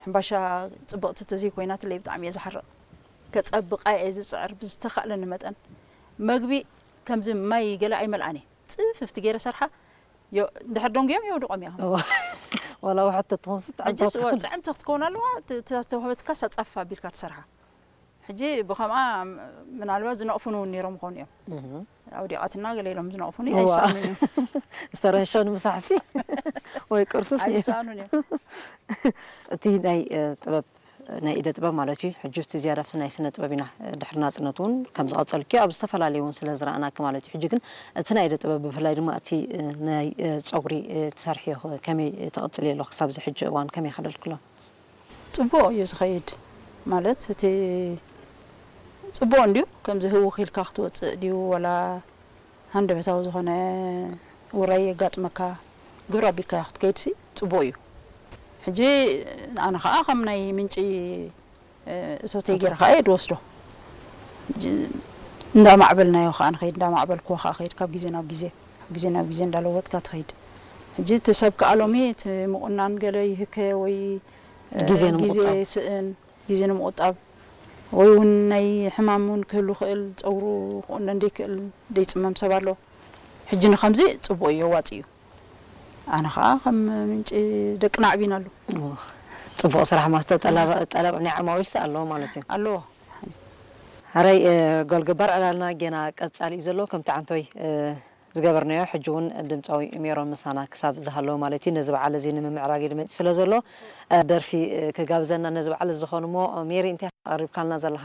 ሕምባሻ ጽብቕቲ ተዘይኮይናትለይ ብጣዕሚ እየ ዝሓርቕ። ከጸብቓ እየ ዝጽዕር ብዝተኻእለኒ መጠን። መግቢ ከምዚ ማይ ገለ ኣይመልኣን እየ። ጽፍፍቲ ገይረ ሰርሓ፣ ዮ-፣ እንድሕር ደንጉዮም የውድቖም እዮም። እዋ። ዋላ ውሕድ ተትኾንስ ጥዕምቲ ሕጂስ ክትኮን። ጥዕምቲ ክትከውን ኣለዋ። ት-፣ እታ ዝተዋህበትካስ ኣጻፍፍ ኣቢልካ ትሰርሓ። ሕጂ ብኸምኣ ምናልባት ዝነቕፉኒ እውን ነይሮም ይኾኑ እዮም። እህ። ኣውዲቓትና ገለ ኢሎም ዝነቕፉኒ እዋ። ኣይሰኣኑን እዮም። ዝተረንሸኑ ምሳሕሲ ወይ ቅርሱስ እዩ። ኣይሰኣኑን እዮም። እቲ ናይ፣ እ፣ ጥበብ፣ ናይ ኢደ ጥበብ ማለት እዩ። ሕጂ እቲ ዝያዳ ኣብቲ ናይ ስነ ጥበብ ኢና፣ እ፣ ድሕሪ ናጽነት እውን ከም ዝቐጸልኪ ኣብ ዝተፈላለዩ እውን ስለ ዝረኣናኪ ማለት እዩ። ሕጂ ግን እቲ ናይ ኢደ ጥበብ ብፍላይ ድማ እቲ፣ እ፣ ናይ፣ እ፣ ጸጉሪ፣ እ፣ ትሰርሕዮ ከመይ ትቕጽልዮ ኣለኺ? ክሳብ እዚ ሕጂ እዋን ከመይ ከደልክሎ? ጽቡቕ እዩ ዝኸይድ። ማለት እቲ ጽቡቕ እንድዩ፣ ከምዚ ህውኽ ኢልካ ክትወጽእ ድዩ፣ ወላ ሃንደበታዊ ዝኾነ ውራይ የጋጥመካ፣ ግብረ ኣቢልካዮ ክትከይድሲ ጽቡቕ እዩ። ሕጂ ኣነ ኸኣ ከም ናይ ምንጪ፣ እ፣ እቶተይ ገይረ ኸኣ እየ ድወስዶ። ሕጂ እንዳማዕበልናዮ ኸኣ ንኸይድ፣ እንዳማዕበልክዎ ኸኣ ኸይድ፣ ካብ ግዜ ናብ ግዜ፣ ካብ ግዜ ናብ ግዜ እንዳለወጥካ ትኸይድ። ሕጂ እቲ ሰብ ከኣ ሎሚ እቲ ምቑናን ገለ ይህከ ወይ፣ እ፣ ግዜ ግዜ ንምቑጣብ። ይስእን፣ ግዜ ንምቑጣብ ወይ እውን ናይ ሕማም እውን ክህሉ ክእል፣ ጸጉሩ ክቑነን ደይክእል፣ ደይጽመም ሰብ ኣሎ። ሕጂ ንኸምዚ ጽቡቕ እዩ፣ ኣዋጺ እዩ። ኣነ ኸኣ ከም ምንጪ ደቅና ኣዕቢናሉ። እዎ። ጽቡቕ ስራሕ ማለት ጠለብ፣ ጠለብ ናይ ዓማዊልሲ ኣለዎ ማለት እዩ። ኣለዎ። ሕራይ፣ እ፣ ጎል ገባር ዕላልና ጌና ቀጻሊ እዩ ዘሎ። ከምቲ ዓንቶይ፣ እ፣ ዝገበርናዮ፣ ሕጂ እውን ድምጻዊ ሜሮን ምሳና ክሳብ ዝሃለወ ማለት እዩ። ነዚ በዓል እዚ ንምምዕራግ ኢሉ መጺኡ ስለ ዘሎ፣ እ፣ ደርፊ፣ እ፣ ክጋብዘና ነዚ በዓል እዚ ዝኾን እሞ፣ ሜሪ፣ እንታይ ኣቕሪብካልና ዘለኻ?